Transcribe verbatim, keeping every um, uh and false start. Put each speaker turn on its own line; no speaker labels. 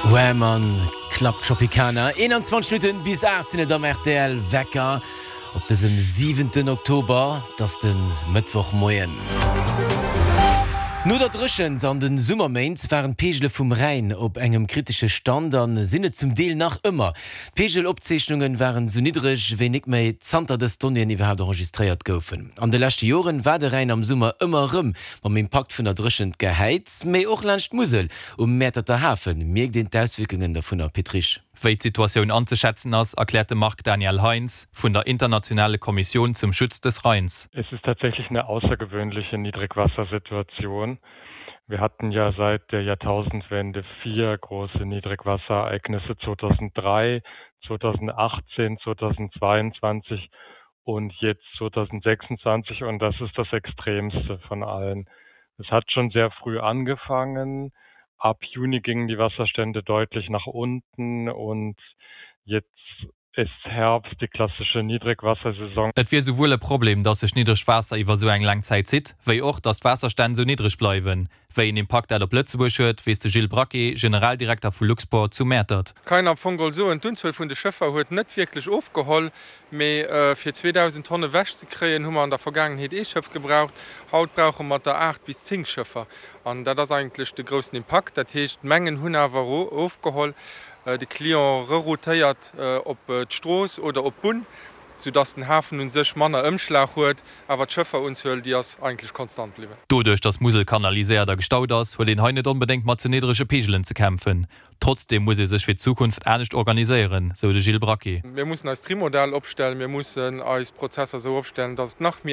Wham Club Tropicana eenanzwanzeg Minutten bis aacht sinn et am R T L Wecker op dësem siwenten Oktober, dat ass de Mëttwochmoien. No der Dréchent an de Summerméint waren d'Peegele vum Rhäin op engem kritesche Stand an sinn et zum Deel nach ëmmer. D'Peegelopzeechnunge waren sou niddreg wéi net méi zanter dës Donnéeën iwwerhaapt enregistréiert goufen. An de leschte Joren war de Rhäin am Summer ëmmer rëm mam Impakt vun der Dréchent gehäit, mee och laanscht d'Musel um Mäerterter Hafen mierkt een d'Auswierkungen dovunner. Pit Risch.
Wéi d'Situatioun anzeschätzen ass, erkläert de Marc Daniel Heinz vun der Internationale Kommission zum Schutz des Rheins.
Es ist tatsächlich eine außergewöhnliche Niedrigwassersituation. Wir hatten ja seit der Jahrtausendwende vier große Niedrigwasserereignisse zweitausenddrei, zweitausendachtzehn, zweitausendzweiundzwanzig und jetzt zweitausendsechsundzwanzig und das ist das extremste von allen. Es hat schon sehr früh angefangen. Ab Juni gingen die Wasserstände deutlich nach unten und jetzt ist Herbst, die klassische Niedrigwassersaison.
Et wier souwuel e Problem, dass sech niddregt Waasser iwwer sou eng laang Zäit zitt, wéi och, dass d'Waasserstänn sou niddreg bleiwen. Wéi een Impakt dat op Lëtzebuerg huet, weess de Gilles Braquet, Generaldirekter vu Luxport zu Mäertert.
Kann am Fong geholl soen, d'Unzuel vun de Schëffer huet net wierklech ofgeholl, mee fir zweedausend Tonne ewech ze kréien, hu mer an der Vergaangenheet ee Schëff gebraucht. Haut brauche mer der aacht bis zéng Schëffer. An dat ass eigentlech de groussen Impakt. Dat heescht, d'Mengen hunn awer ofgeholl. De Client reroutéiert op d'Strooss oder op d'Bunn, soudass den Hafen u sech manner Ëmschlag huet, awer d'Schëfferunzuel, déi ass eigentlech konstant bliwwen.
Doduerch, dass d'Musel kanaliséiert a gestaut ass, huet een hei net onbedéngt mat ze niddrege Peegelen ze kämpfen. Trotzdeem muss ee sech fir d'Zukunft anescht organiséieren, sou de Gilles Braquet.
Mir mussen eist Trimodal opstellen, mir mussen eis Prozesser sou opstellen, dass et nach méi